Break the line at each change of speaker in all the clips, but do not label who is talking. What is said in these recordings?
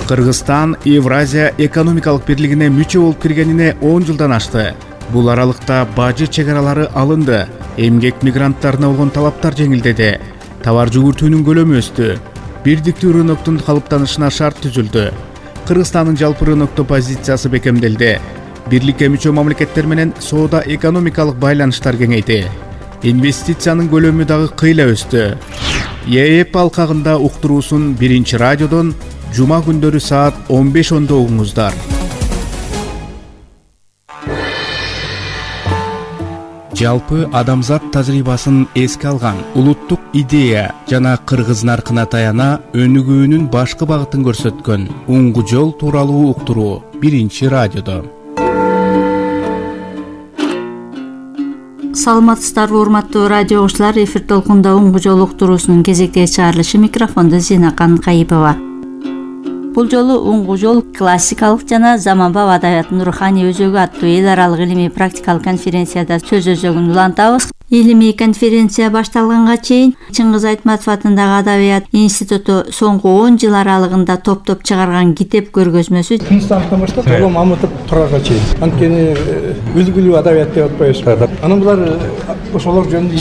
Кыргызстан Евразия экономикалык бирлигине мүчө болуп киргенине 10 жылдан ашты. Бул аралыкта бажы чек аралары алынды, эмгек мигранттарына болгон талаптар жеңилдеди, товар жүгүртүүнүн көлөмү өстү, бирдиктүү рыноктун калыптанышына шарт түзүлдү. Кыргызстандын жалпы рынокто позициясы бекемделди. Бирликке мүчө мамлекеттер менен соода экономикалык байланыштар кеңейди. Инвестициянын көлөмү дагы кыйла өстү. ЕЭП алкагында уктуруусун Биринчи радиодон жума күндөрү саат 15:10 угуңуздар. Жалпы адамзат тажрыйбасын эске алган улуттук идея жана кыргыз наркына таяна өнүгүүнүн башкы багытын көрсөткөн уңгу жол тууралуу уктуруу Биринчи радиодо.
Саламатсыздарбы урматтуу радио угуучулар, эфир толкунда уңгу жол уктуруусунун кезектеги чыгарылышы, микрофондо Зинакан Кайыпова. Бул жолу уңгу жол классикалык жана заманбап адабияттын руханий өзөгү аттуу эл аралык илимий практикалык конференцияда сөз өзөгүн улантабыз. Илимий конференция башталганга чейин Чыңгыз Айтматов атындагы Адабият институту соңку 10 жыл аралыгында топтоп чыгарган китеп көргөзмөсү
Кыргызстандын баштап Улам Мамытов турарга чейин анткени үлгүлүү адабият деп атпайбызбы. Анан булар ошолор жөнүндө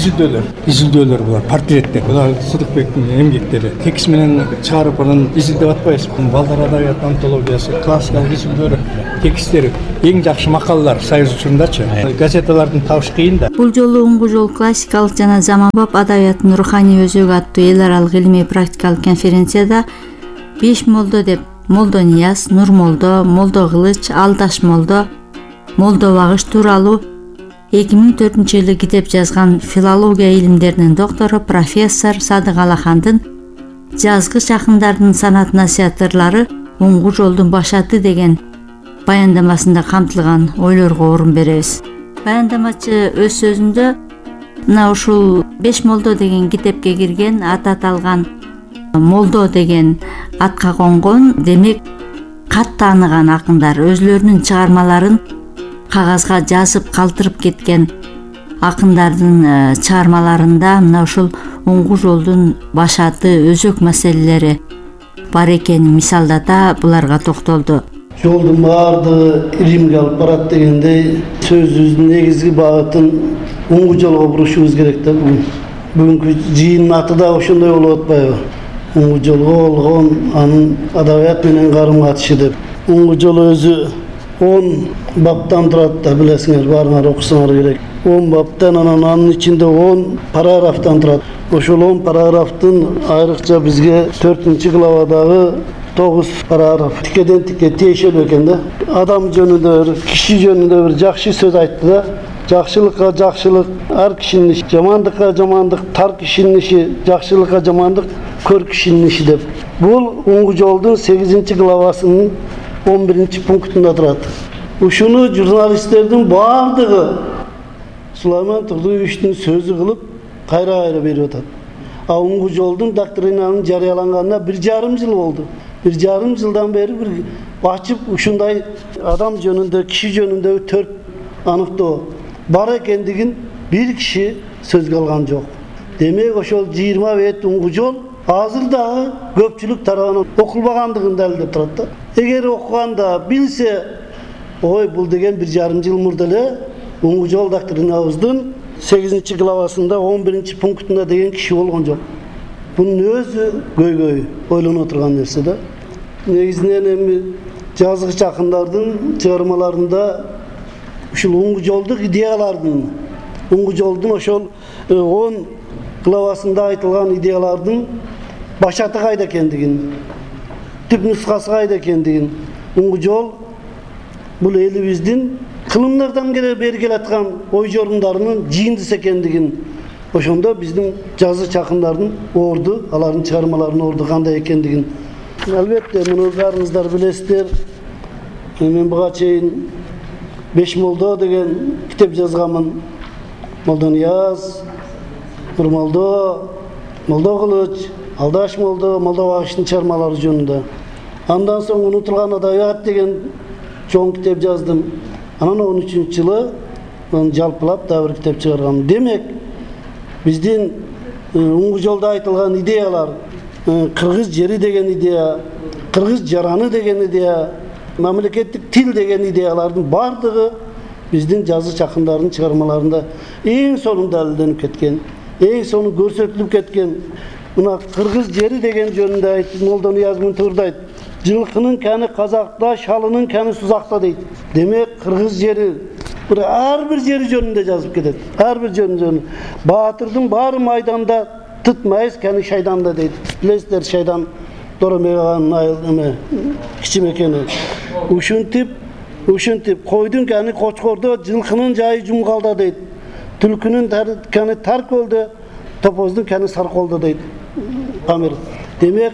изилдөөлөр булар, портреттер. Булар Сыдыкбектин эмгектери. Текст менен чыгарып анан изилдеп атпайбызбы. Балдар адабият антологиясы, классикалык изилдөөлөр, тексттер, эң жакшы макалалар Союз учурундачы. Газеталардын табыш кыйын да.
Бул жолу уңгу жол классикалык жана заманбап адабияттын руханий өзөгү аттуу эл аралык илимий практикалык конференцияда 5 молдо деп Молдо Нияз, Нур молдо, Молдо Кылыч, Алдаш молдо, Молдо Багыш тууралуу 2004-жылы китеп жазган филология илимдеринин доктору профессор Садык Алахандын жазгы жакындардын санат насихаттырлары уңгу жолдун башаты деген баяндамасында камтылган ойлорго орун беребиз. Баяндамачы өз сөзүндө мына ушул 5 молдо деген китепке кирген, аты аталган молдо деген атка конгон, демек кат тааныган акындар, өзлөрүнүн чыгармаларын кагазга жазып калтырып кеткен акындардын чыгармаларында мына ушул уңгу жолдун башаты, өзөк маселелери бар экенин мисалдата буларга токтолду.
Жолдун баардыгы Римге алып барат дегендей сөзүбүздүн негизги багытын уңгу жолго бурушубуз керек да. Бүгүнкү жыйындын аты да ошондой болуп атпайбы? Уңгу жолго болгон анын адабият менен карым катышы деп. Уңгу жол өзү 10 баптан турат да, билесиңер, баарыңар окусаңар керек. 10 баптан, анын ичинде 10 параграфтан турат. Ошол 10 параграфтын айрыкча бизге 4-главадагы 9 параграф тикеден тикке тиешелүү экен да. Адам жөнүндө бир, киши жөнүндө бир жакшы сөз айтты да. Жакшылыкка жакшылык, ар кишинин иши, жамандыкка жамандык, тар кишинин иши, жакшылыкка жамандык, көр кишинин иши деп. Бул уңгу жолдун 8-главасынын 11-пунктунда турат. Ушуну журналисттердин баардыгы Сулайман Турдуевичтин сөзү кылып кайра берип атат. А уңгу жолдун доктринанын жарыяланганына 1,5 жыл болду. 1,5 жылдан бери бир ачып ушундай адам жөнүндө, киши жөнүндө 4 аныктоо бар экендигин бир киши сөзгө алган жок. Демек ошол 20 бет уңгу жол азыр дагы көпчүлүк тарабынан окулбагандыгын далилдеп турат да. Эгер окуганда билсе, ой бул деген 1,5 жыл мурда эле уңгу жол доктринабыздын 8-главасында 11-пунктунда деген киши болгон жок. Бунун өзү көйгөй ойлонуп турган нерсе да. Негизинен эми жазгы чакындардын чыгармаларында ушул уңгу жолдук идеялардын, уңгу жолдун ошол 10 главасында айтылган идеялардын башаты кайда экендигин, түп нускасы кайда экендигин, уңгу жол бул элибиздин кылымдардан бери келаткан ой жорумдарынын жыйындысы экендигин, ошондо биздин жазгы чакындардын орду, алардын чыгармаларынын орду кандай экендигин. Албетте, муну баарыңыздар билесиздер. Мен буга чейин 5 молдо деген китеп жазганмын. Молдо Нияз, Нур молдо, Молдо Кылыч, Алдаш молдо, Молдо Багыштын чыгармалары жөнүндө. Андан соң унутулган адабият деген чоң китеп жаздым. Анан 13-жылы жалпылап дагы бир китеп чыгаргам. Демек, биздин уңгу жолдо айтылган идеялар, кыргыз жери деген идея, кыргыз жараны деген идея, мамлекеттик тил деген идеялардын бардыгы биздин жазы чакындардын чыгармаларында эң сонун далилденип кеткен, эң сонун көрсөтүлүп кеткен. Мына кыргыз жери деген жөнүндө айтып, Молдо Нияз Мынтуурда айтып, жылкынын каны казакта, шалынын каны сузакта дейт. Демек кыргыз жери ар бир жери жөнүндө жазып кетет. Ар бир жөнүндө. Баатырдын баары майданда, тытмайыз каны шайданда дейт. Билесиздер, шайдан Доромеганын айыл кичимекени. Ушинтип койдун каны Кочкордо, жылкынын жайы Жумгалда дейт. Түлкүнүн каны Таркөлдө, топоздун каны Сарколдо дейт. Памир. Демек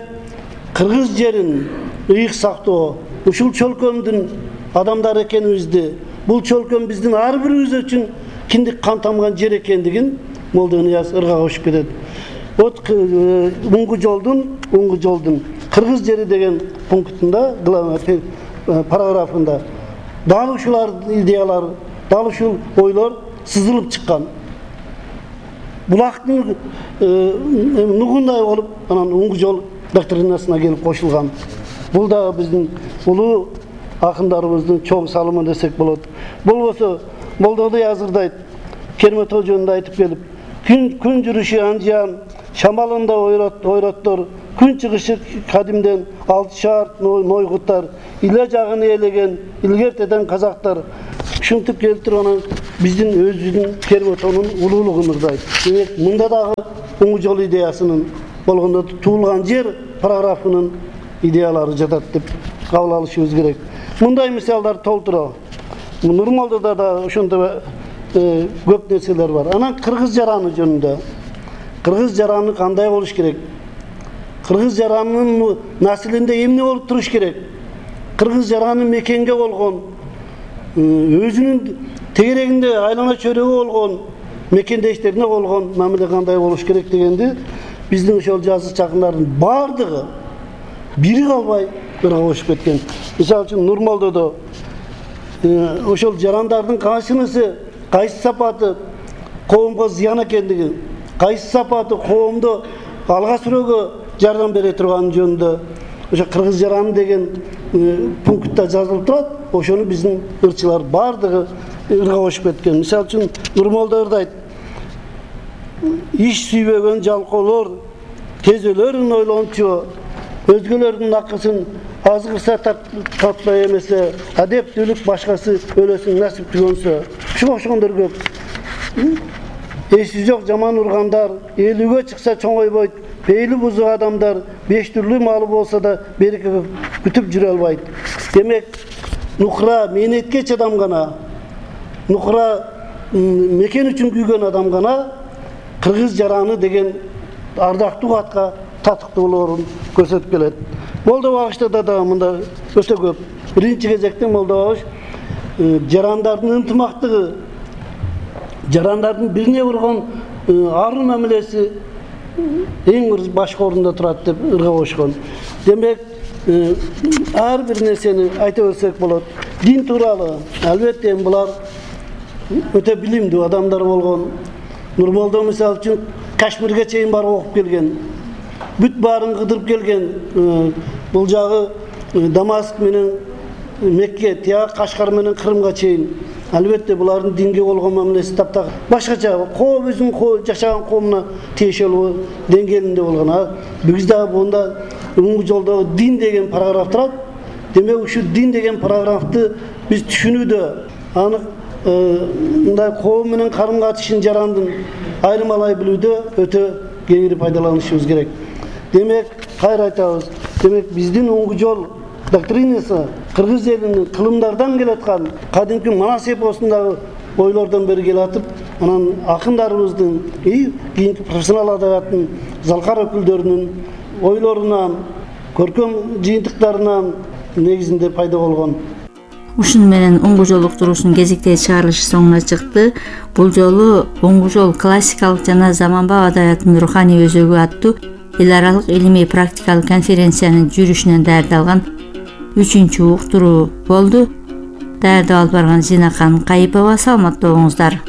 кыргыз жерин ыйык сактоо, ушул чөлкөмдүн адамдар экенибизди, бул чөлкөм биздин ар бирибиз үчүн киндик кан тамган жер экендигин Молдо Нияз ырга кошуп кетет. Вот Уңгу жолдун кыргыз жери деген пунктунда, параграфында дал ушулар идеялар, дал ушул ойлор сызылып чыккан. Булактын нугундай болуп, анан Уңгу жол доктринасына келип кошулган. Бул да биздин улуу акындарыбыздын чоң салымы десек болот. Болбосо Молдо Ниязырда айтып, Кермет жөнүндө айтып келип, күн жүрүшү анжан, шамалында ойроттор, күн чыгышы кадимден алты шаар нойгуттар, иле жагын ээлеген илгертеден казактар. Ушинтип келтирип анан биздин өзүбүздүн Керметонун улуулугун ырдайт. Демек мында дагы Уңгу жол идеясынын болгондо туулган жер параграфынын идеялары жатат деп кабыл алышыбыз керек. Мындай мисалдар толтура. Нурмалдыда да ошондой көп нерселер бар. Анан кыргыз жараны жөнүндө. Кыргыз жараны кандай болуш керек? Кыргыз жаранынын наслинде эмне болуп туруш керек? Кыргыз жараны мекенге болгон, өзүнүн тегерегинде айлана чөйрөгө болгон, мекендештерине болгон мамиле кандай болуш керек дегенди биздин ошол жазы чакындардын бардыгы бири калбай ырга кошуп кеткен. Мисалы үчүн Нурмалдодо ошол жарандардын кайсынысы, кайсы сапаты коомго зыян экендиги, кайсы сапаты коомдо алга сүрөөгө жардам бере турган жөнүндө ошо кыргыз жараны деген пунктта жазылып турат. Ошону биздин ырчылар бардыгы ырга кошуп кеткен. Мисалы үчүн Нурмалдо ырдайт: иш сүйбөгөн жалкоолор кезөлөрүн ойлончу, өзгөлөрдүн акысын азгырса татпай эмесе, адептүүлүк башкасы өлөсүн насип түгөнсө. Ушуга окшогондор көп. Эси жок жаман ургандар, элүүгө чыкса чоңойбойт, пейли бузук адамдар, беш түрлүү малы болсо да береке күтүп жүрө албайт. Демек, нукра мээнетке чыдам гана, нукра мекен үчүн күйгөн адам гана кыргыз жараны деген ардактуу атка татыктуулорун көрсөтүп келет. Молдо Багышта да мында өтө көп. Биринчи кезекте Молдо Багыш жарандардын ынтымактыгы, жарандардын бирине бургон арын мамилеси эң бир башкы орунда турат деп ырга кошкон. Демек, ар бир нерсени айта берсек болот. Дин тууралуу албетте булар өтө билимдүү адамдар болгон. Нурмалдо мисалы үчүн Кашмирге чейин барып окуп келген. Бүт баарын кыдырып келген. Бул жагы Дамаск менен Мекке, тияк Кашкар менен Кырымга чейин. Албетте булардын динге болгон мамилеси таптак башкача, өзүнүн жашаган коомуна тиешелүү деңгээлинде болгон. Биз дагы бунда Уңгу жолдогу дин деген параграф турат. Демек, ушул дин деген параграфты биз түшүнүүдө, аны мындай коом менен карым-катышын жарандын айырмалай билүүдө өтө кеңири пайдаланышыбыз керек. Демек, кайра айтабыз. Демек, биздин Уңгу жол доктринасы кыргыз элинин кылымдардан келаткан кадимки Манас эпосундагы ойлордон бери келатып, анан акындарыбыздын, кийинки профессионал адабияттын залкар өкүлдөрүнүн ойлорунан, көркөм жыйынтыктарынан негизинде пайда болгон.
Ушун менен Уңгу жол уктуруусунун кезектеги чыгарылышы соңуна чыкты. Бул жолу Уңгу жол классикалык жана заманбап адабияттын руханий өзөгү аттуу эл аралык илимий практикалык конференциянын жүрүшүнөн даярдалган 3-уктуруу болду. Даярдап алып барган Зинакан Кайыпова. Саламатта болуңуздар.